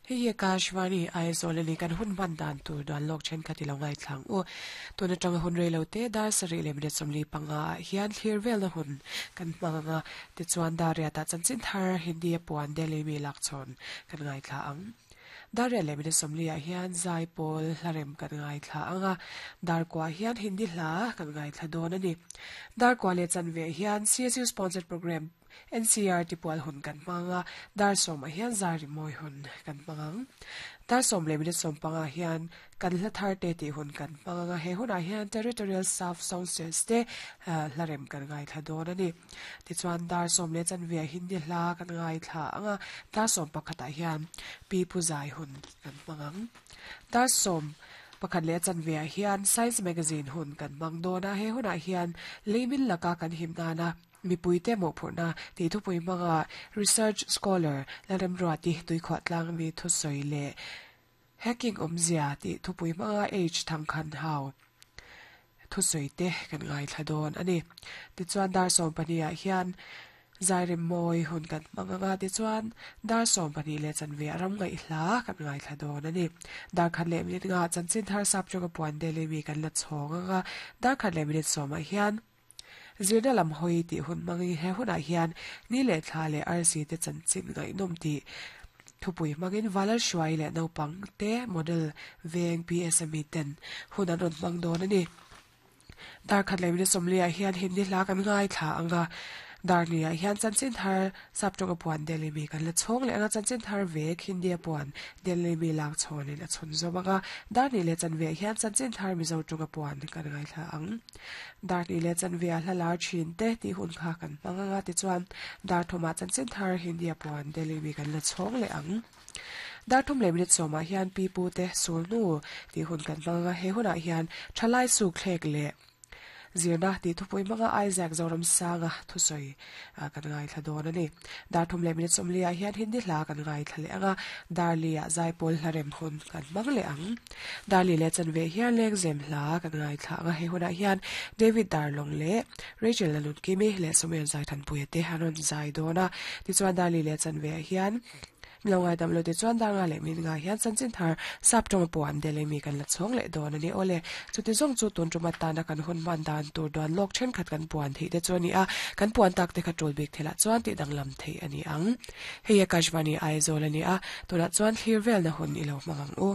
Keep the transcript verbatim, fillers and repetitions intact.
Hei Akashvani Aizawl ani kan hun man dan tur dan lok then khati lo ngai thlang u tuna tang hun reilo te dar sari le minute somli panga hian thlir vel na hun kan hmanga ti chuan daria ta chanchin thar Hindi puan Delhi mi lak chon kan ngai thla ang daria le minute somli ah hian zai pawl hlarem kan ngai thla anga dar kwa hian Hindi hla kan ngai thla dawn ani dar kwa le chanve hian C S U sponsored program N C R T pual hun kan hmanga dar som ah hian zari moi hun kan hmangang dar som le minute som panga hian kan hla thar te ti hun kan hmanga he hunah hian territorial staff sound te hlarem kan ngai thla dawn ani ti chuan dar som le chanve Hindi hla kan ngai thla anga dar som pakhatah hian pi pu zai hun kan hmangang dar som pakhat le chanve hian science magazine hun kan hmang dawn a he hunah hian leimin laka kan himnana mi puite mo phurna ti thu pui manga research scholar larem ruati tui khwa tlang mi thu soi le hacking omzia ti thu pui manga h thangkhan hau thu soi te kan ngai thla dawn ani ti chuan dar som pania hian zairim moi hun kan manga ti chuan dar som pani le chanve ram ngai hla kan ngai thla dawn ani dar khat le minute nga chanchin thar sap choka puan dele mi kan la chhonga nga dar khat le minute soma hian zirna lam hoi ti hun mangi he hunah hian ni le thla le arsi te chanchin ngai nom ti thupui mangin valar shuai le naupang te model veng P S M E ten hun an rawn hmang dawn ani dar khat le minute sawmli ah hian Hindi hla kan ngai thla anga dar ni ah hian chanchin thar saptawng puan Delhi mi kan la chhawng leh anga chanchin thar vek Hindi puan Delhi mi lak chhawnin a chhun zawm anga dar ni le chanve hian chanchin thar Mizo tawnga puan kan ngai thla ang dar ni le chanve a hla lar thin te ti hun kha kan hmang anga ti chuan dar thuma chanchin thar Hindi puan Delhi mi kan la chhawng leh ang dar thum le minute sawmah hian pi pu te sulnu ti hun kan hmang anga he hunah hian thalai suk thlek leh zirna ti thupui manga Isaac Zoram Sanga thusoi kan ngai thla dawn ani dar thum le minute sawmli ah hian Hindi hla kan ngai thla leh anga darli ah zaipawl hlarem hun kan hmang leh ang darli le chanve hian lengzem hla kan ngai thla anga he hunah hian David Darlong le Rachel Lalun Kimi le Samuel Zai Thanpuia te hanon zai dawn a ti chuan darli le chanve hian milongai dam lo te chuan dar nga le min nga hian chanchin thar saptawng puan dele mi kan la chhawng leh dawn ani ole chuti zawng chu tun tuma tana kan hun man dan tur duan lawk then khat kan puan thei te chuan ni a kan puan tak te kha tul bik thela chuan ti danglam thei ani ang hei Akashvani Aizawl ani a tunah chuan thlir vel na hun ilo hmangang u.